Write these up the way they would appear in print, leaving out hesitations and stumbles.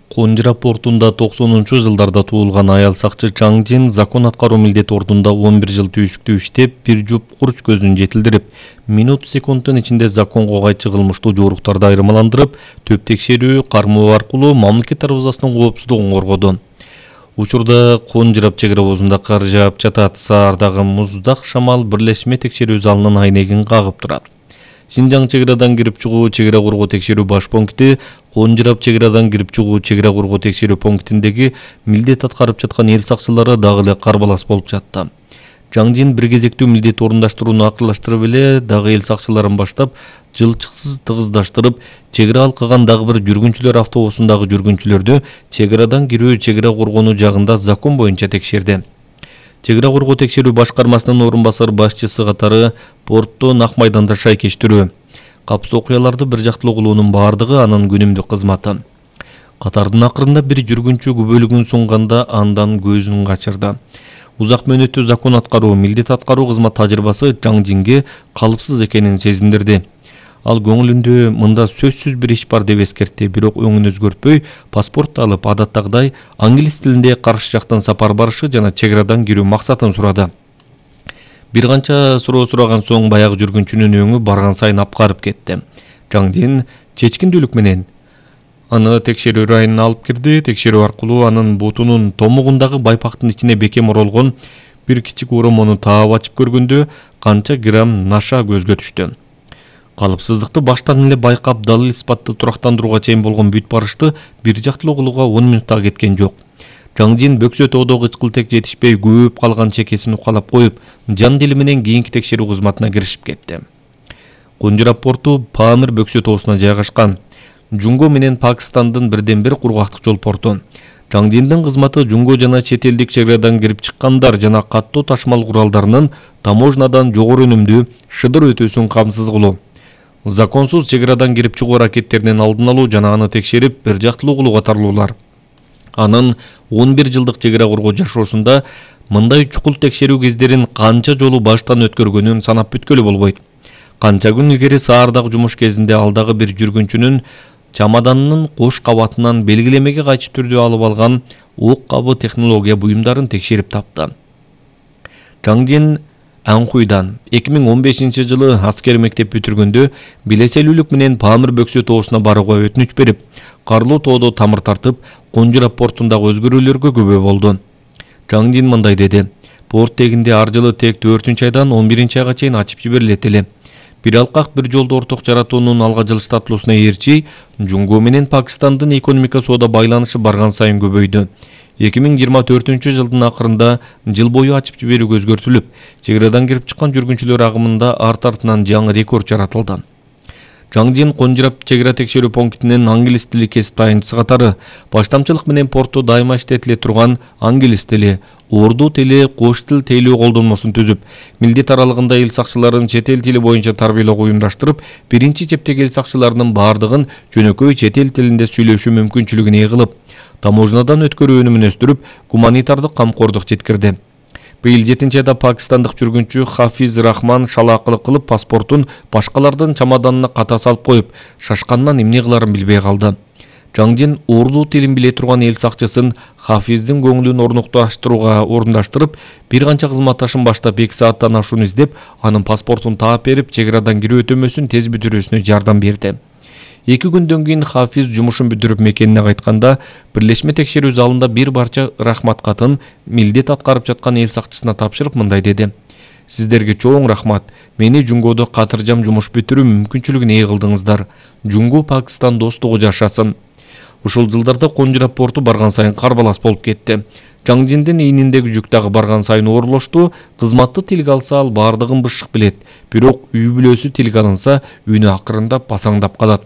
Конжира портунда 90-жылдарда туулган аял сакчы Чаң Жин закон аткаруу милдети ордунда 11 жыл түйшүктүү иштеп, бир жуп курч көзүн жетилдирип, минут-секунддун ичинде законго кайчы кылмыштуу жоруктарды айырмаландырып, төп текшерүү, кармоо аркылуу мамлекет дарбазасынын коопсуздугун коргоду. Учурда Конжира чек ара обозунда кар жаап жатат, саардагы муздак шамал бирлешме текшерүү залынын айнегин кагып турат. Синжаң чек арадан кирип чыгуу чек ара коргоо текшерүү баш пункти, Конжира чек арадан кирип чыгуу чек ара коргоо текшерүү пунктиндеги милдет аткарып жаткан эл сакчылары дагы эле карбалас болуп жатты. Чаң Жин бир кезектүү милдет орундаштырууну акырлаштырып эле дагы эл сакчыларын баштап, жылчыксыз тыгыздаштырып, чек ара алкаган дагы бир жүргүнчүлөр автобусундагы жүргүнчүлөрдү чек арадан кирүү чек ара коргонуу жагында закон боюнча текшерди. Чек ара коргоо текшерүү башкармасынын орун басар башчысы катары порттун ак майданда шайкештирүү, капсыз окуяларды бир жактылуу кылуунун бардыгы анын күнүмдүк кызматы. Катардын акырында бир жүргүнчү күбөлүгүн сунганда андан көзүн качырды. Узак мөөнөттүү закон аткаруу, милдет аткаруу кызмат тажрыйбасы Чаң Жинге калыпсыз экенин сезиндирди. Ал көңүлүндө мында сөзсүз бир иш бар деп эскертти, бирок өңүн өзгөртпөй, паспорт алып, адаттагыдай англис тилинде каршы жактан сапар барышы жана чек арадан кирүү максатын сурады. Бир канча суроо сураган соң баягы жүргүнчүнүн өңү барган сайын апкарып кетти. Чаң Жин чечкиндүүлүк менен аны текшерүү районуна алып кирди. Текшерүү аркылуу анын бутунун томугундагы байпактын ичине бекем оролгон бир кичик оромону таап ачып көргөндө канча грамм наша көзгө түштү. Калыпсыздыкты баштан эле байкап, далил испатты турактандырууга чейин болгон бүт барышты бир жактылуу кылууга 10 минутта кеткен жок. Чаң Жин бөксө тоодо кычкылтек жетишпей көөп калган чекесин укалап коюп, жан дили менен кийинки текшерүү кызматына киришип кетти. Конжира порту Памир бөксө тоосуна жайгашкан. Жунго менен Пакистандын бирден бир кургактык жол порту. Чаң Жиндин кызматы жунго жана чет элдик чек арадан кирип чыккандар жана каттуу ташмал куралдарынын таможнадан жогору өнүмдүү шыдыр өтүүсүн камсыз кылуу. Законсуз чек арадан кирип чыгуу аракеттеринин алдын алуу жана аны текшерип, бир жактылуу кылуу катарлуулар. Анын 11 жылдык чек ара коргоо жашоосунда мындай чукул текшерүү кездерин канча жолу баштан өткөргөнүн санап бүткөлү болбойт. Канча күн илгери саардагы жумуш кезинде ал дагы бир жүргүнчүнүн чамаданынын кош кабатынан белгилемеге кайчы түрдө алып алган ок кабы технология буюмдарын текшерип тапты. Чаң Жин Анхуйдан 2015 жылы аскер мектеп бүтүргөндө билеселүүлүк менен Памир бөксө тоосуна барууга өтүнүч берип, карлуу тоодо тамыр тартып, Конжира портундагы өзгөрүүлөргө күбө болду. Чаң Жин мындай деди: "Порт тегинде ар жылы тек 4-айдан 11-айга чейин ачып жиберилет эле. Бир алкак бир жолду орток жаратуунун алга жылыштатылуусуна ээрчи, Жунго менен Пакистандын экономика соода байланышы барган сайын көбөйдү. 2024 жылдын акырында жыл бою ачып жиберүү өзгөртүлүп, чек арадан кирип чыккан жүргүнчүлөр агымында арт артынан жаңы рекорд жаратылды." Чаң Жин Конжира чек ара текшерүү пунктинин англис тили кесип тайынчысы катары баштамчылык менен портто дайыма иштетиле турган англис тили, урду тили, кош тил тейлөө колдонмосун түзүп, милдет аралыгында эл сакчыларын чет эл тили боюнча тарбиялоого уюмдаштырып, биринчи чептеги эл сакчыларынын бардыгын жөнөкөй чет эл тилинде сүйлөшүү мүмкүнчүлүгүн ээ кылып, таможнадан өткөрүү өнүмүн өстүрүп, гуманитардык камкордук жеткирди. Быйыл 7-айда пакистандык жүргүнчү Хафиз Рахман шалаакылык кылып паспортун башкалардын чамаданына ката салып коюп, шашкандан эмне кыларын билбей калды. Чаң Жин урду тилин биле турган эл сакчысын Хафиздин көңүлүн орундаштырып, бир канча кызматташын баштап 2 сааттан ашуун издеп, анын паспортун таап берип, чек арадан кирүү өтөмөсүн тез бүтүрүүсүнө жардам берди. 2 күндөн кийин Хафиз жумушун бүтүрүп мекенине кайтканда, бирлешме текшерүү залында бир барча рахмат катын милдет аткарып жаткан эл сакчысына тапшырып мындай деди: "Сиздерге чоң рахмат. Мени Жунгодо катыржам жумуш бүтүрүү мүмкүнчүлүгүн ээ кылдыңыздар. Жунгу Пакистан достугу жашасын." Ушул жылдарда Конжира порту барган сайын карбалас болуп кетти. Чаң Жиндин ийниндеги жүк дагы барган сайын оорлошту. Кызматты тилге алса ал бардыгын бышык билет, бирок үй бүлөсү тилге алынса үнү акырындап басаңдап калат.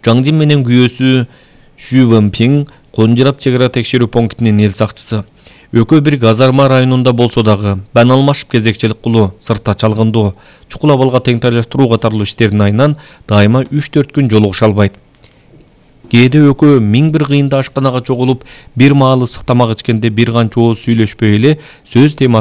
Чаң Жин менен күйөөсү Шү Вэнпиң Конжира чек ара текшерүү пунктинин эл сакчысы. Экөө бир казарма районунда болсо дагы, бан алмашып кезекчилик кылуу, сыртта чалгындоо, чукул абалга теңтайлаштыруу катарлуу иштердин айынан дайыма 3-4 күн жолугуша албайт. Кээде экөө 1001 кыйында ашканага чогулуп, бир маал ысык тамак ичкенде бир канча ооз сүйлөшпөй эле сөз темасы